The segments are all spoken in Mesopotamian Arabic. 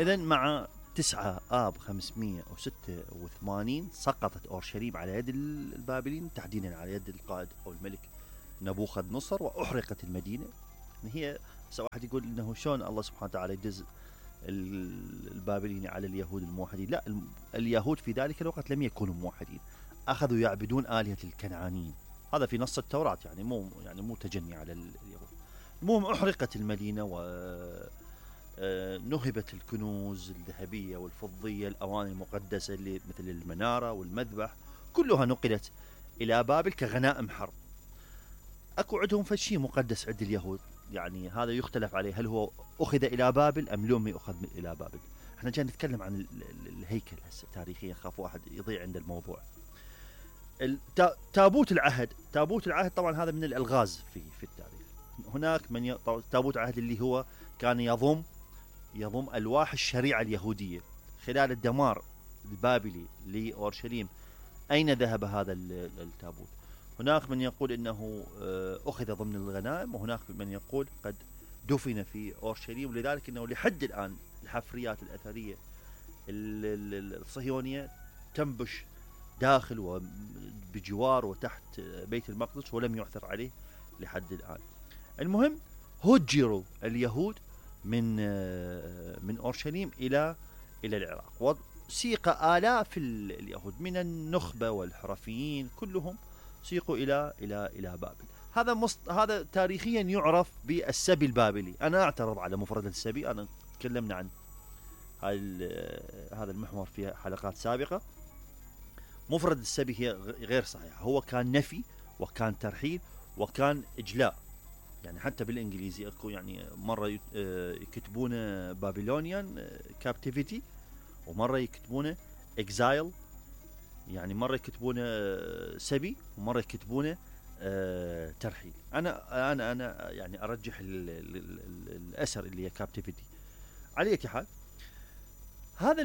إذا مع 9 آب 586 سقطت أورشليم على يد البابليين، تحديدا على يد القائد أو الملك نبوخذ نصر، وأحرقت المدينة. هي واحد يقول إنه شلون الله سبحانه وتعالى يدز البابليين على اليهود الموحدين؟ لا، اليهود في ذلك الوقت لم يكونوا موحدين، أخذوا يعبدون آلهة الكنعانيين. هذا في نص التوراة، يعني مو تجني على اليهود. المهم أحرقت المدينة و نهبت الكنوز الذهبية والفضية، الأواني المقدسة اللي مثل المنارة والمذبح، كلها نقلت إلى بابل كغنائم حرب. أكو عندهم فشي مقدس عند اليهود، يعني هذا يختلف عليه، هل هو أخذ إلى بابل أم لم يأخذ إلى بابل. احنا جاي نتكلم عن الهيكل هسه تاريخيا، خاف واحد يضيع عند الموضوع. تابوت العهد طبعا هذا من الألغاز في التاريخ. هناك من تابوت العهد اللي هو كان يضم ألواح الشريعة اليهودية. خلال الدمار البابلي لأورشليم أين ذهب هذا التابوت؟ هناك من يقول إنه أخذ ضمن الغنائم، وهناك من يقول قد دفن في أورشليم، ولذلك إنه لحد الآن الحفريات الأثرية الصهيونية تنبش داخل وبجوار وتحت بيت المقدس، ولم يعثر عليه لحد الآن. المهم هجروا اليهود من أورشليم إلى العراق، وسيق آلاف اليهود من النخبة والحرفيين كلهم سيقوا إلى بابل. هذا تاريخيا يعرف بالسبي البابلي. أنا أعترض على مفردة السبي، أنا تكلمنا عن هذا المحور في حلقات سابقة. مفردة السبي هي غير صحيحة، هو كان نفي وكان ترحيل وكان إجلاء. يعني حتى بالإنجليزي أكو يعني مرة يكتبونه بابلونيان كابتيفيتي، ومرة يكتبونه إكزايل، يعني مرة يكتبونه سبي، ومرة يكتبونه ترحيل. أنا يعني أرجح الأسر اللي هي كابتيفيتي. على أي حال، هذا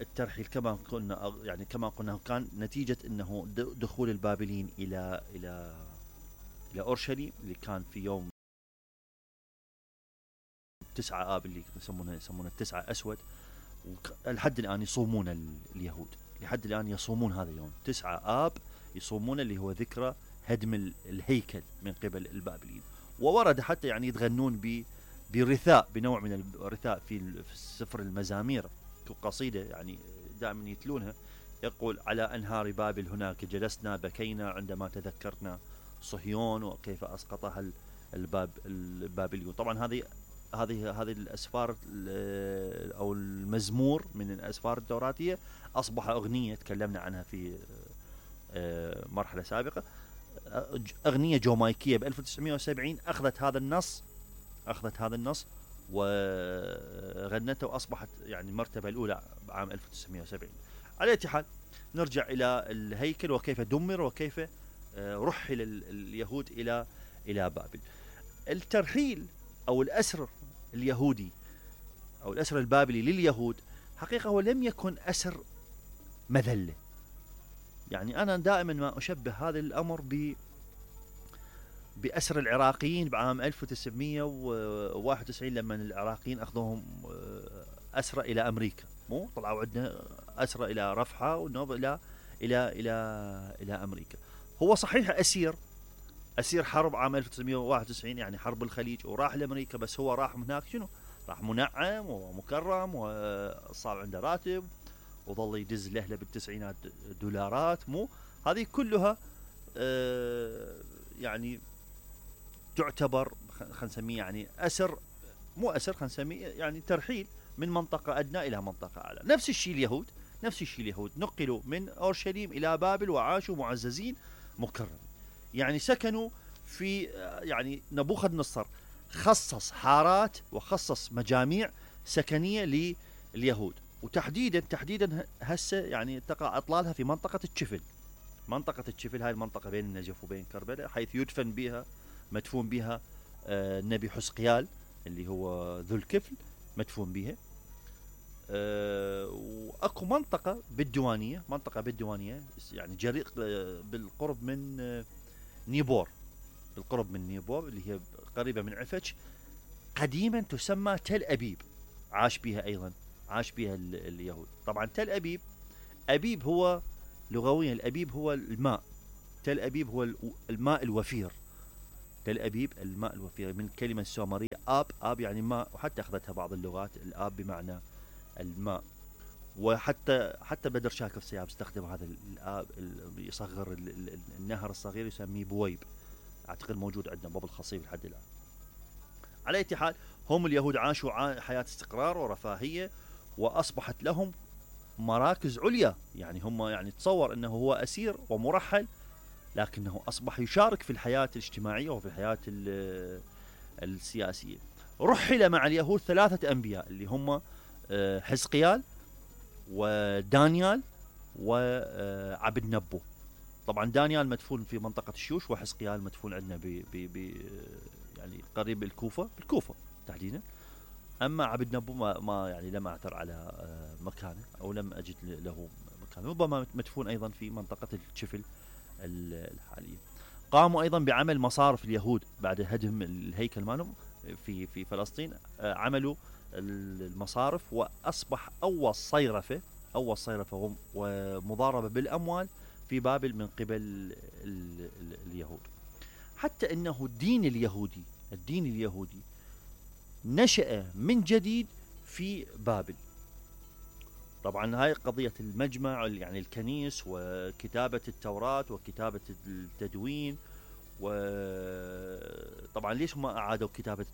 الترحيل كما قلنا كان نتيجة أنه دخول البابليين إلى أورشليم، اللي كان في يوم 9 آب اللي يسمونه 9 أسود. لحد الآن يصومون اليهود، لحد الآن يصومون هذا اليوم 9 آب، يصومون اللي هو ذكرى هدم الهيكل من قبل البابليين. وورد حتى يعني يتغنون برثاء، بنوع من الرثاء في سفر المزامير، قصيدة يعني دائما يتلونها، يقول: على أنهار بابل هناك جلسنا، بكينا عندما تذكرنا صهيون وكيف أسقطها البابليون. طبعا هذه الأسفار أو المزمور من الأسفار التوراتية أصبح أغنية، تكلمنا عنها في مرحلة سابقة. أغنية جامايكية ب 1970 أخذت هذا النص وغنته، وأصبحت يعني المرتبة الأولى بعام 1970. على أي حال، نرجع إلى الهيكل وكيف دمر وكيف رحل اليهود إلى بابل. الترحيل أو الأسر اليهودي أو الأسر البابلي لليهود حقيقة هو لم يكن أسر مذلة. يعني أنا دائما ما أشبه هذا الأمر بأسر العراقيين بعام 1991 لما العراقيين أخذوهم أسرى إلى أمريكا. مو طلعوا عندنا أسرى إلى رفحة ونوب إلى أمريكا. هو صحيح أسير حرب عام 1991، يعني حرب الخليج، وراح لأمريكا، بس هو راح هناك شنو؟ راح منعم ومكرم وصار عنده راتب وظل يدز له بالتسعينات دولارات. مو هذه كلها يعني تعتبر خلينا نسميه يعني أسر، مو أسر، خلينا نسميه يعني ترحيل من منطقة أدنى إلى منطقة أعلى. نفس الشيء اليهود نقلوا من أورشليم إلى بابل وعاشوا معززين مكرمين. يعني سكنوا في يعني نبوخذ نصر خصص حارات وخصص مجاميع سكنية لليهود، وتحديدا هسه يعني تقع أطلالها في منطقة الشفل. هاي المنطقة بين النجف وبين كربلاء، حيث مدفون بها النبي حزقيال اللي هو ذو الكفل، مدفون بها. واكو منطقة بالديوانية يعني جريق بالقرب من نيبور، اللي هي قريبة من عفج، قديما تسمى تل أبيب. عاش بها أيضا، عاش بها اليهود. طبعا تل أبيب، أبيب هو لغويا، الأبيب هو الماء، تل أبيب هو الماء الوفير. تل أبيب الماء الوفير من كلمة سومرية آب، آب يعني ماء، وحتى أخذتها بعض اللغات الآب بمعنى الماء. حتى بدر شاكر سياب استخدم هذا الآب، يصغر النهر الصغير يسميه بويب، أعتقد موجود عندنا باب الخصيب لحد الآن. على أي حال هم اليهود عاشوا حياة استقرار ورفاهية، وأصبحت لهم مراكز عليا. يعني هم يعني تصور أنه هو أسير ومرحل، لكنه أصبح يشارك في الحياة الاجتماعية وفي الحياة السياسية. رحل مع اليهود 3 أنبياء اللي هم حزقيال ودانيال وعبد نبو. طبعا دانيال مدفون في منطقة الشوش، وحزقيال مدفون عندنا يعني قريب الكوفة، بالكوفة تحديدا. أما عبد نبو ما يعني لم أعثر على مكانه، أو لم أجد له مكانه، ربما مدفون أيضا في منطقة الشفل الحالية. قاموا أيضا بعمل مصارف اليهود بعد هدم الهيكل مالهم في فلسطين. عملوا المصارف، وأصبح أول صيرفة ومضاربة بالأموال في بابل من قبل اليهود. حتى أنه الدين اليهودي نشأ من جديد في بابل. طبعا هاي قضية المجمع، يعني الكنيس وكتابة التوراة وكتابة التدوين. وطبعا ليش ما أعادوا كتابة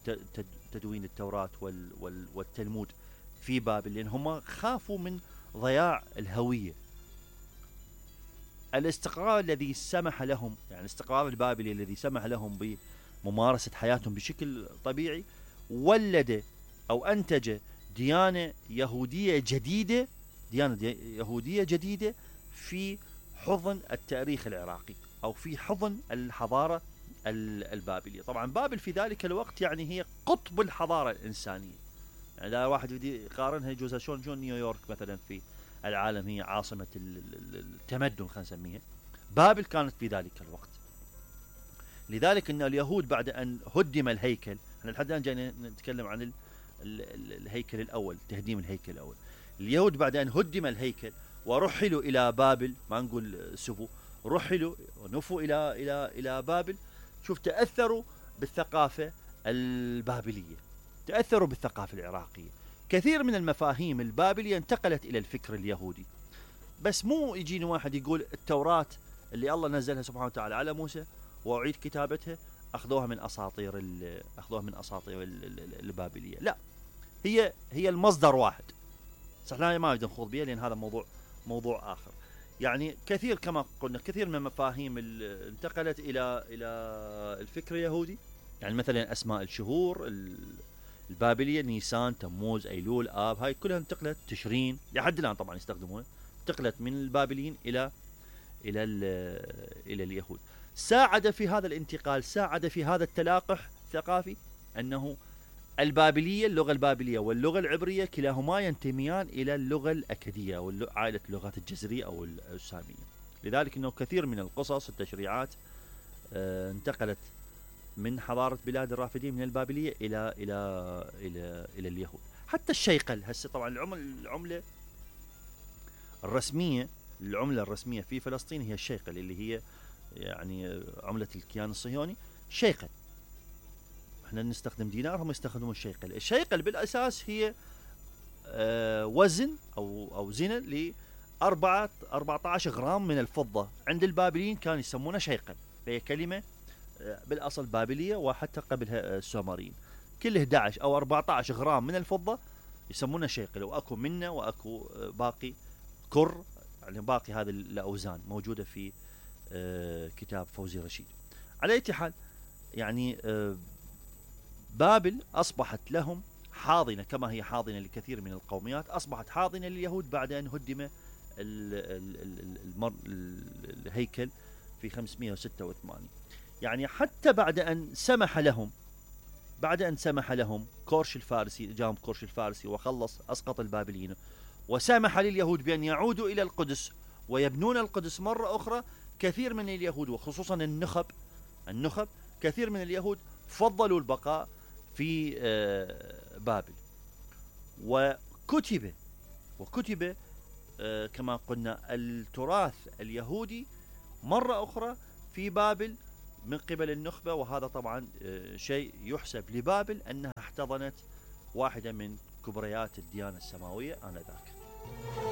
تدوين التوراة والتلمود في بابل؟ لأن هم خافوا من ضياع الهوية. الاستقرار الذي سمح لهم، يعني الاستقرار البابلي الذي سمح لهم بممارسة حياتهم بشكل طبيعي، ولد أو أنتج ديانة يهودية جديدة في حضن التاريخ العراقي، أو في حضن الحضارة البابلية. طبعا بابل في ذلك الوقت يعني هي قطب الحضارة الإنسانية. يعني إذا واحد يدي يقارنها يجوز شلون نيويورك مثلا في العالم هي عاصمة التمدن، خلينا نسميها، بابل كانت في ذلك الوقت. لذلك أن اليهود بعد أن هدم الهيكل، احنا لحد الآن جاي نتكلم عن الهيكل الأول، تهديم الهيكل الأول. اليهود بعد أن هدم الهيكل ورحلوا إلى بابل، ما نقول سفوا، رحلوا ونفوا إلى بابل. شوف، تأثروا بالثقافة البابلية، تأثروا بالثقافة العراقية. كثير من المفاهيم البابلية انتقلت إلى الفكر اليهودي. بس مو يجيني واحد يقول التوراة اللي الله نزلها سبحانه وتعالى على موسى وأعيد كتابتها أخذوها من أساطير البابلية. لا، هي المصدر واحد. صح، ما بدنا نخوض بها لأن هذا موضوع آخر. يعني كثير، كما قلنا، كثير من المفاهيم انتقلت إلى الفكر اليهودي. يعني مثلا أسماء الشهور البابلية، نيسان، تموز، أيلول، آب، هاي كلها انتقلت، تشرين لحد الآن طبعا يستخدمونها، انتقلت من البابليين إلى اليهود. ساعد في هذا الانتقال، ساعد في هذا التلاقح الثقافي أنه البابلية، اللغة البابلية واللغة العبرية كلاهما ينتميان إلى اللغة الأكدية أو عائلة اللغات الجزرية أو السامية. لذلك أنه كثير من القصص التشريعات انتقلت من حضارة بلاد الرافدين من البابلية إلى اليهود. حتى الشيقل هسه، طبعا العملة الرسمية في فلسطين هي الشيقل، اللي هي يعني عملة الكيان الصهيوني، شيقل. احنا نستخدم دينار، هم يستخدمون الشيقل. الشيقل بالأساس هي وزن أو زنة ل 14 غرام من الفضة. عند البابليين كانوا يسمونه شيقل، فهي كلمة بالأصل بابلية، وحتى قبلها السومريين. كل 11 أو 14 غرام من الفضة يسمونه شيقل. وأكو منه وأكو باقي كر، يعني باقي هذه الأوزان موجودة في كتاب فوزي رشيد. على أي حال، يعني بابل أصبحت لهم حاضنة، كما هي حاضنة لكثير من القوميات، أصبحت حاضنة لليهود بعد أن هدم الهيكل في 586. يعني حتى بعد أن سمح لهم كورش الفارسي، جاهم كورش الفارسي وخلص أسقط البابليين، وسمح لليهود بأن يعودوا إلى القدس ويبنون القدس مرة أخرى. كثير من اليهود وخصوصا النخب كثير من اليهود فضلوا البقاء في بابل. وكتب كما قلنا التراث اليهودي مرة أخرى في بابل من قبل النخبة، وهذا طبعا شيء يحسب لبابل أنها احتضنت واحدة من كبريات الديانة السماوية آنذاك.